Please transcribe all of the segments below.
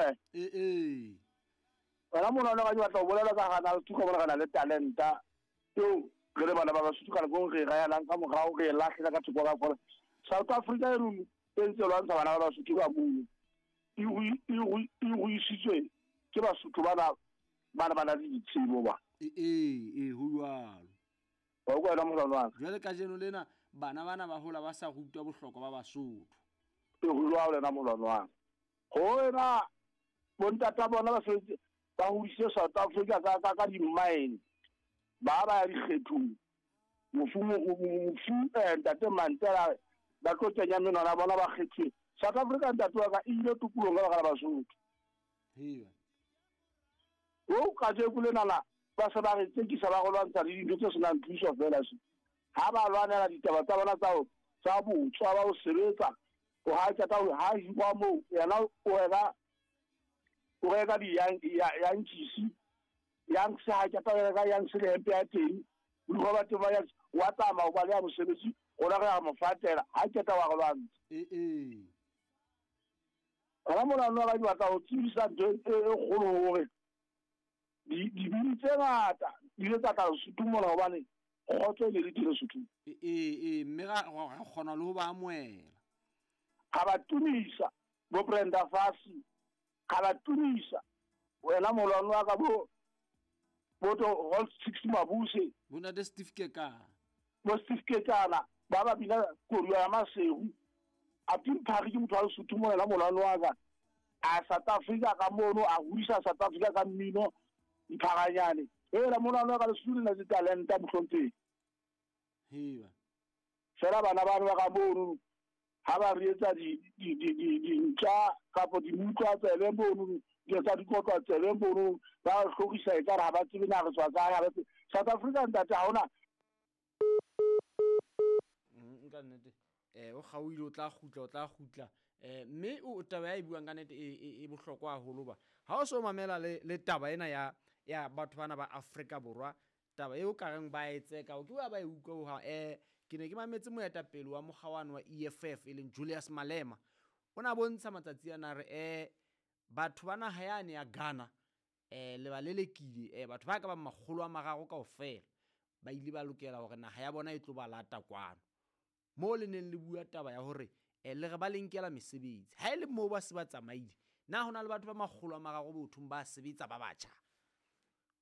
Eh. Ee, ee. Wena mona ka ke batla go bolela ka gana Lesotho ka bona re na le talenta eo re le bana ba Basotho ka nako re e raelang ka morago re e lahlela ka thoko ka fora. South Africa e rone e ntse e lwantsha bana ba Basotho ka mono. E ruisitswe ke Basotho bana ba na le ditsebo ba. Ee, ee, ho jwalo. Wa utlwa wena molwane wa ka? Jwale kajeno lena bana bana ba hola ba sa rutwa bohlokwa ba Basotho. E ho jwalo wena molwane wa ka. Ho wena bontata bona ba sebetse ba hodisitse South Africa ka ka ka di-mine ba ba ya dikgethong mofu mofu ntate Mandela ba tlo kenya menwana bona ba kgethuwe South Africa ntate wa ka e ile tokolong ka baka la Basotho. Hee. O kajeko lenana ba se ba re tsekisa ba go lwantsha le dintho tse senang thuso fela se. Ha ba lwanela ditaba tsa bona tsa tsa botswa ba ho sebetsa o ha qeta ho ha hirwa moo yena o reka o reka di-yankees yanks ha qeta ho reka yanks le hempe ya teng borikgwe ba teng ba yanks wa tsamaya o baleha mosebetsi rona re a mo fatela ha qeta wa re lwantsha. Ee, ee. Hona mona nna ke batla ho tsebisa ntho e kgolo hore dibini tse ngata di ile tsa tla Lesotho mona hobane kgotso e ne le teng Lesothong. Ee, ee, mme ra kgona le ho ba amohela. Ra ba tumisa bo Brenda Fassie, ra ba tumisa wena molwane wa ka bo bo to Hall Six Mabuse, Bo ntate Steve Kekana. Bo Steve Kekana ba ba bina koduwa ya Maseru. Aunty Mphari ke motho wa Lesotho mona la molwane wa ka. A South Africa ka mono a hodisa South Africa ka mmino Mpharanyane. Hela molwane wa ka Lesotho le na le talenta mohlomphehi. Heba. Fela bana bano ba ka mono ha ba re etsa dintja kapa dimutlwa tsebe mono di etsa dikotlwa tsebe mono ba re hlorisa ekare ha ba tsebe na re tswa kae ha ba tsebe. South Africa ntate ha hona Nka nnete o kgaohile o tla kgutla o tla kgutla mme o taba ya e buang ka nnete e bohlokwa haholo ba ha o so mamela le taba ena ya ya batho bana ba Afrika Borwa taba eo ka reng ba e tseka o ke wa ba e utlwa ho ke ne ke mametse moetapele wa mokga wane wa EFF e leng Julius Malema o na bontsha matsatsi ana re batho ba naha yane ya Ghana le ba lelekile batho ba ka bang 300 kaofela ba ile ba lokela hore naha ya bona e tlo ba lata kwano moo le neng le bua taba ya hore le re ba le nkela mesebetsi ha e le moo ba se ba tsamaile na hona le batho ba 300 bothong ba sebetsa ba batjha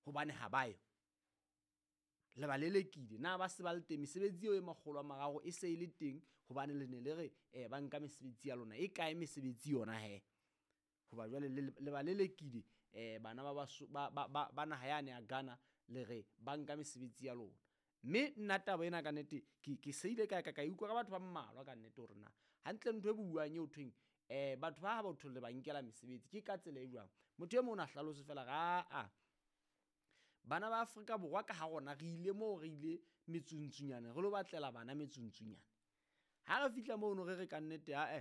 hobane ha ba yo le ba lelekile na ba se ba le teng mesebetsi eo e 300 e se e le teng hobane le ne le re ba nka mesebetsi ya lona e kae mesebetsi yona he hoba jwale le ba lelekile bana ba naha yane ya Ghana le re ba nka mesebetsi ya lona mme nna taba ena ka nnete ke seile ka ka utlwa ka batho ba mmalwa ka nnete hore na hantle ntho e buang eo thweng batho ba ha batho le ba nkela mesebetsi ke ka tsela e jwang motho e mong o na hlalose fela ga a bana ba Afrika Borwa ka ha rona re ile moo re ile metsuntsunyane re lo batlela bana metsuntsunyane ha re fihla mono re re ka nnete a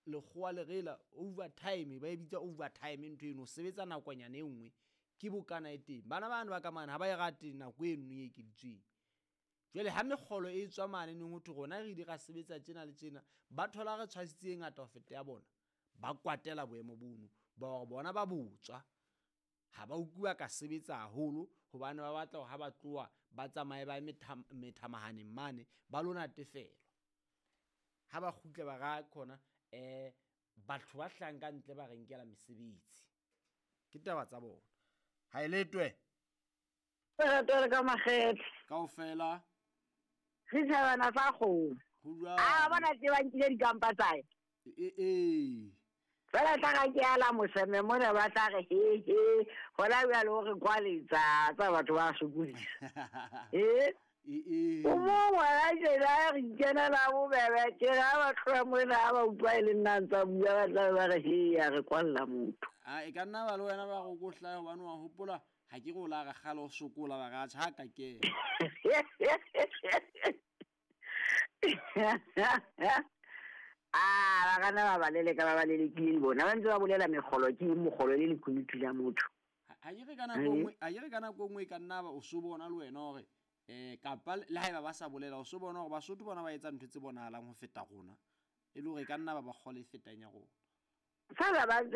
lekgowa le rela overtime ba e bitsa overtime ntho eno sebetsa nakonyana e nngwe ke bokana e teng bana bana ba ka mane ha ba e rate nako eno e ekeditsweng jwale ha mekgolo e tswa mane neng ho thwe rona re ile ra sebetsa tjena le tjena ba thola re tshwasitse e ngata ho feta ya bona ba kwatela boemo bono ba hore bona ba botswa ha ba utlwa ka sebetsa haholo hobane ba batla hore ha ba tloha ba tsamaye ba methamahaneng mane ba lo natefelwa ha ba kgutla ba ra khona batho ba hlang ka ntle ba re nkela mesebetsi ke taba tsa bona ha e letwe re ka makgethe kaofela re thabana sa kgomo a bona tse ba nkile dikampa tsae ee fela tla ga ke ala moseme mona ba tla re he he gona bjale o re kwaletsa tsa batho ba sokodisa ee o mongwe a tjena re ikenela bobebe tjena ba tloha mona ha ba utlwa e le nna ntsa bua ba tla ba re he ya re kwalla motho a e ka nna ba le wena ba go kohlae hobane wa hopola ha ke re o la re kgale o sokola ba re atjha ha ka kena a ba kana ba ba leleka ba ba lelekile le bona ba ntse ba bolela megolo ke eng mogolo le lekunutu la motho ha ke re ka nako nngwe ha ke re ka nako nngwe e ka nna ba o so bona le wena hore kapa le haeba ba sa bolela o so bona hore Basotho bona ba etsa ntho tse bonahalang ho feta rona e le hore e ka nna ba ba kgole e fetang ya rona fela ba ntse